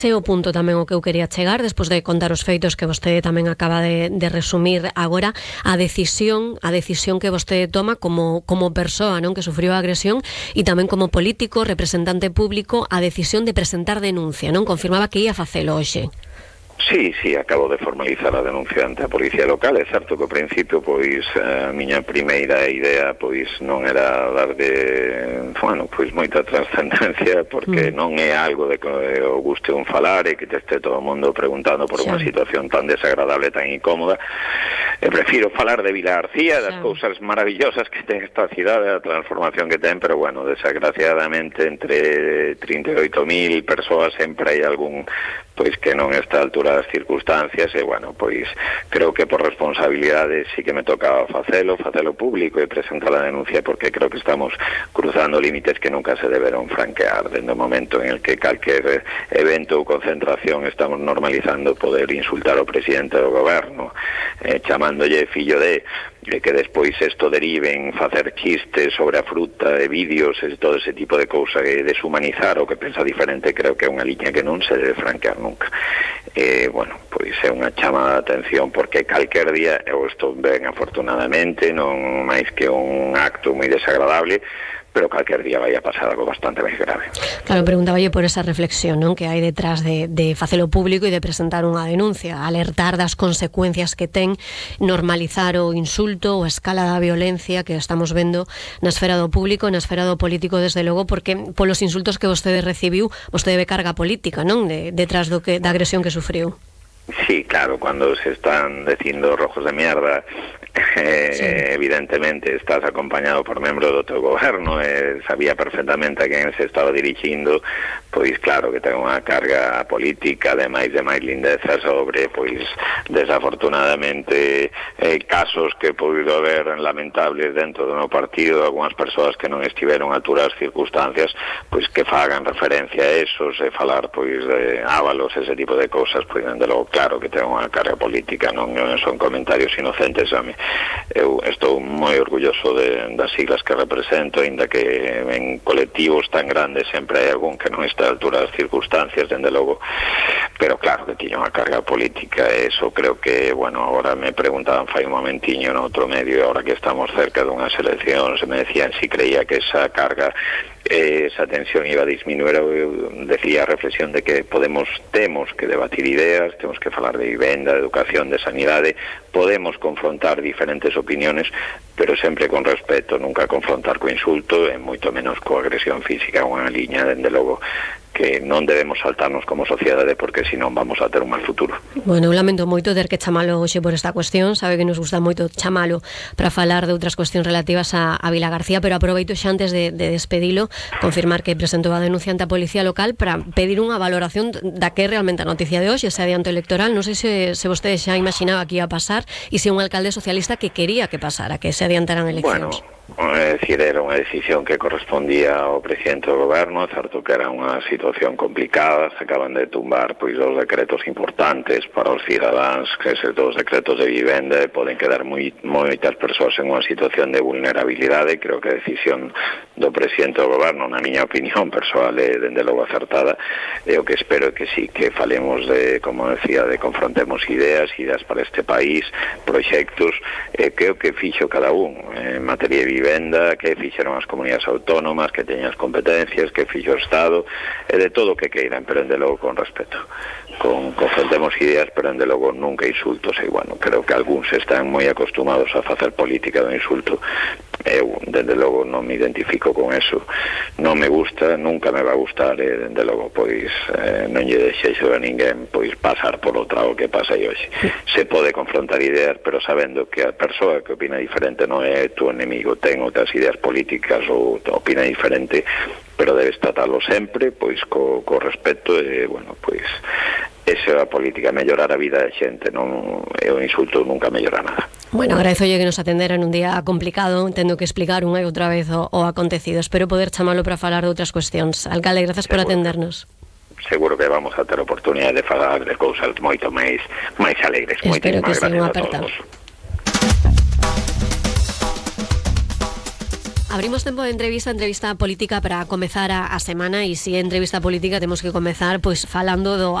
Ese é o punto tamén o que eu quería chegar despois de contar os feitos que vostede tamén acaba de resumir agora, a decisión que vostede toma como persoa, non, que sufriu a agresión, e tamén como político, representante público, a decisión de presentar denuncia, non? Confirmaba que ia facelo hoxe. Sí, acabo de formalizar a denuncia ante a Policía Local. É certo que ao principio, pois, a miña primeira idea, pois, non era dar moita trascendencia, porque non é algo de que o guste un falar e que te este todo o mundo preguntando por unha situación tan desagradable, tan incómoda. Prefiro falar de Vila García, das cousas maravillosas que ten esta cidade, a transformación que ten, pero, bueno, desgraciadamente, entre 38.000 persoas sempre hai algún, pois, que non está a altura das circunstancias, e, bueno, pois, creo que por responsabilidade sí que me tocaba facelo público e presentar a denuncia, porque creo que estamos cruzando límites que nunca se deberon franquear, dende o momento en el que calquer evento ou concentración estamos normalizando poder insultar ao presidente do goberno, chamándolle fillo de, que despois isto derive en facer chistes sobre a fruta e vídeos e todo ese tipo de cousa, e deshumanizar o que pensa diferente, creo que é unha liña que non se debe franquear nunca. Bueno, pois é unha chamada de atención, porque calquer día, eu estou ben afortunadamente, non máis que un acto moi desagradable, pero calquer día vai a pasar algo bastante máis grave. Claro, preguntaballe por esa reflexión, non, que hai detrás de facelo público e de presentar unha denuncia, alertar das consecuencias que ten normalizar o insulto ou a escala da violencia que estamos vendo na esfera do público, na esfera do político, desde logo, porque polos insultos que vostede recibiu, vostede ve carga política, non, detrás da agresión que sufriu. Sí, claro, cuando se están dicindo rojos de mierda, evidentemente estás acompañado por membros do teu goberno, sabía perfectamente a quen se estaba dirixindo, pois claro que ten unha carga política de máis lindeza sobre, pois, desafortunadamente, casos que podido haber lamentables dentro do meu partido, algunhas persoas que non estiveron a altura das circunstancias, pois que fagan referencia a esos e falar, pois, de ávalos, ese tipo de cousas, pois, dende logo, claro que ten unha carga política, non son comentarios inocentes. Eu estou moi orgulloso das siglas que represento, ainda que en colectivos tan grandes sempre hai algún que non está a altura das circunstancias, dende logo, pero claro que tiña unha carga política, e eso creo que, bueno, agora me preguntaban fai un momentiño no outro medio, e agora que estamos cerca dunhas eleccións, me decían si creía que esa carga, esa tensión iba a disminuir. Eu decía a reflexión de que temos que debatir ideas, temos que falar de vivenda, de educación, de sanidade, podemos confrontar diferentes opiniones, pero sempre con respeto, nunca confrontar co insulto e moito menos coa agresión física, unha liña, dende logo, que non debemos saltarnos como sociedade, porque senón vamos a ter un mal futuro. Bueno, eu lamento moito ter que chamalo hoxe por esta cuestión, sabe que nos gusta moito chamalo para falar de outras cuestións relativas a Vila García, pero aproveito xa antes de despedilo, confirmar que presentou a denuncia ante a Policía Local para pedir unha valoración da que é realmente a noticia de hoxe, ese adianto electoral. Non sei se vostede xa imaginaba que ia pasar e se un alcalde socialista que quería que pasara, que se adiantaran eleccións. É dicir, era unha decisión que correspondía ao presidente do goberno, certo que era unha situación complicada, se acaban de tumbar pois dos decretos importantes para os cidadáns, que se dos decretos de vivenda, poden quedar moitas persoas en unha situación de vulnerabilidade. Creo que a decisión do presidente do goberno, na miña opinión persoal, é dende logo acertada, e o que espero é que sí, que falemos de, como decía, de confrontemos ideas para este país, proxectos, que o que fixo cada un en materia de vivenda, que fixeron as comunidades autónomas, que teñan as competencias, que fixo o Estado, e de todo o que queiran, pero dende logo con respeto. Confrontemos ideas, pero dende logo nunca insultos, e, bueno, creo que algúns están moi acostumados a facer política do insulto. Eu, dende logo, non me identifico con eso, non me gusta, nunca me va a gustar, e dende logo, pois, non lle deixeixo a ninguén, pois, pasar por o trago que pasa hoxe. Se pode confrontar ideas, pero sabendo que a persoa que opina diferente non é tu enemigo, ten outras ideas políticas ou opina diferente, pero debes tratarlo sempre, pois, co respeto, e, bueno, pois, esa é a política, mellorar a vida da xente, non é o insulto, nunca mellora nada. Bueno, agradezolle que nos atendera en un día complicado, tendo que explicar unha e outra vez o acontecido. Espero poder chamalo para falar de outras cuestións. Alcalde, grazas por atendernos. Seguro que vamos a ter oportunidade de falar de cousas moito máis alegres. Espero que sea unha aperta. Abrimos tempo de entrevista política para comezar a semana, e se é entrevista política temos que comezar pois falando do